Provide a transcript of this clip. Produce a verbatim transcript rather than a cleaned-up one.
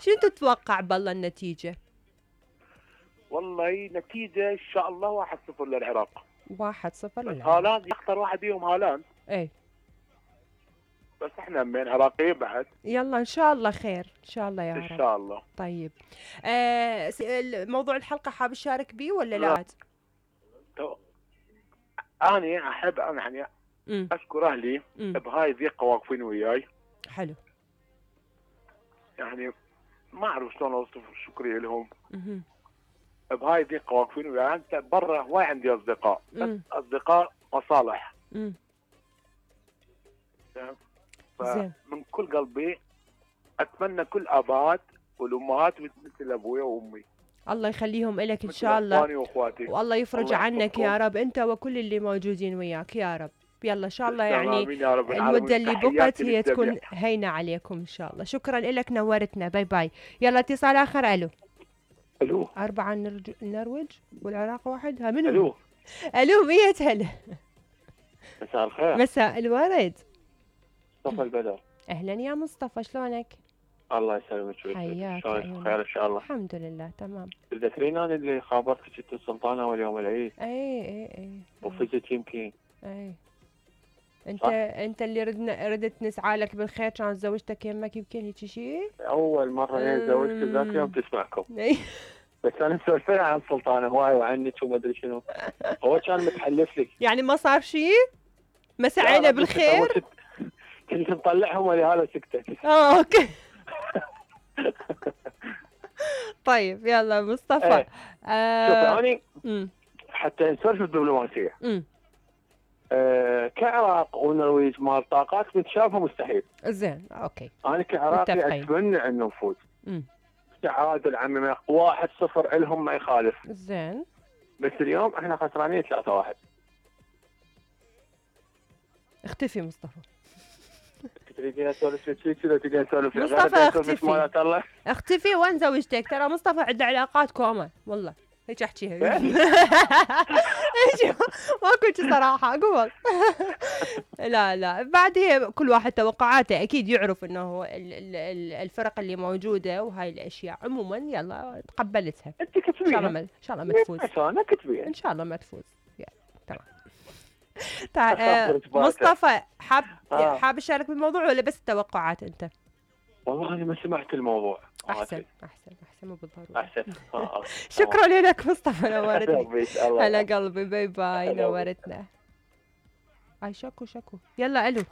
شو تتوقع بالله النتيجة؟ والله نتيجة ان شاء الله واحد صفر للعراق. واحد صفر بس للعراق. هالاند يختار واحد فيهم هالاند. ايه بس احنا من عراقيين بعد. يلا ان شاء الله خير ان شاء الله يا ان رب. شاء الله. طيب آه موضوع الحلقة حاب تشارك بيه ولا لا؟ لا. انا احب انا يعني مم. اشكر اهلي مم. بهاي الضيقة واقفين وياي. حلو. يعني ما اعرف شلون اوصف شكري لهم. مم. بهاي الضيقة واقفين وياي. انت برا هواي عندي اصدقاء بس اصدقاء مصالح. امم فمن كل قلبي اتمنى كل ابات والامهات مثل ابويا وامي. الله يخليهم لك ان شاء الله. اخواني واخواتي. والله يفرج عنك يا رب انت وكل اللي موجودين وياك يا رب. يلا ان شاء الله يعني المدة اللي بقت هي تكون هينة عليكم ان شاء الله. شكرا لك نورتنا. باي باي. يلا اتصال اخر. الو. الو. أربعة النرج... النرويج والعراق واحد. ها منو؟ الو. الو مية هلا. مساء الخير. مساء الورد. مصطفى البدر. اهلا يا مصطفى شلونك؟ الله يسلمك. حياك. شلونك؟ بخير ان شاء الله. الحمد لله تمام. تذكرين انا اللي خابرتك انت السلطانه اول يوم العيد؟ اي اي اي. وفزت يمكن. اي. انت صح؟ انت اللي ردنا ردت نسعى لك بالخير كانت زوجتك يمك يمكن هيك شيء؟ اول مره هي زوجتي ذاك اليوم تسمعكم. بس انا مسولفين عن السلطانه هواي وعنك وما ادري شنو. هو كان متحلف لي. يعني ما صار شيء؟ مسعينا بالخير؟ كنت مطلعهم ولهذا سكتت. اه اوكي. طيب يلا مصطفى. ايه. آه شوف اني حتى نسولف بالدبلوماسيه. امم آه كعراق ونرويج مال طاقات نتشافى مستحيل. زين اوكي. انا كعراقي اتمنى انه نفوز. امم تعادل عمي واحد صفر لهم ما يخالف. زين. بس اليوم احنا خسرانين ثلاثة واحد. اختفي مصطفى. تريدين اسولف لك كذا تريدين اسولف مصطفى اختفي. اختفي وين زوجتك؟ ترى مصطفى عنده علاقات كوما والله. هيك احكيها. ماكو صراحه قول. لا لا بعد هي كل واحد توقعاته اكيد يعرف انه الفرق اللي موجوده وهاي الاشياء عموما. يلا تقبلتها. انت كتبيها ان شاء الله ما تفوز. انا كتبيها ان شاء الله ما تفوز. تمام. تعال مصطفى حاب آه. حاب تشارك بالموضوع ولا بس التوقعات انت؟ والله انا ما سمعت الموضوع. احسن احسن احسن مو بالضروره. احسن. آه. شكرا لك مصطفى نورتني. هلا قلبي. باي باي نورتنا. اي شكو شكو. يلا الو.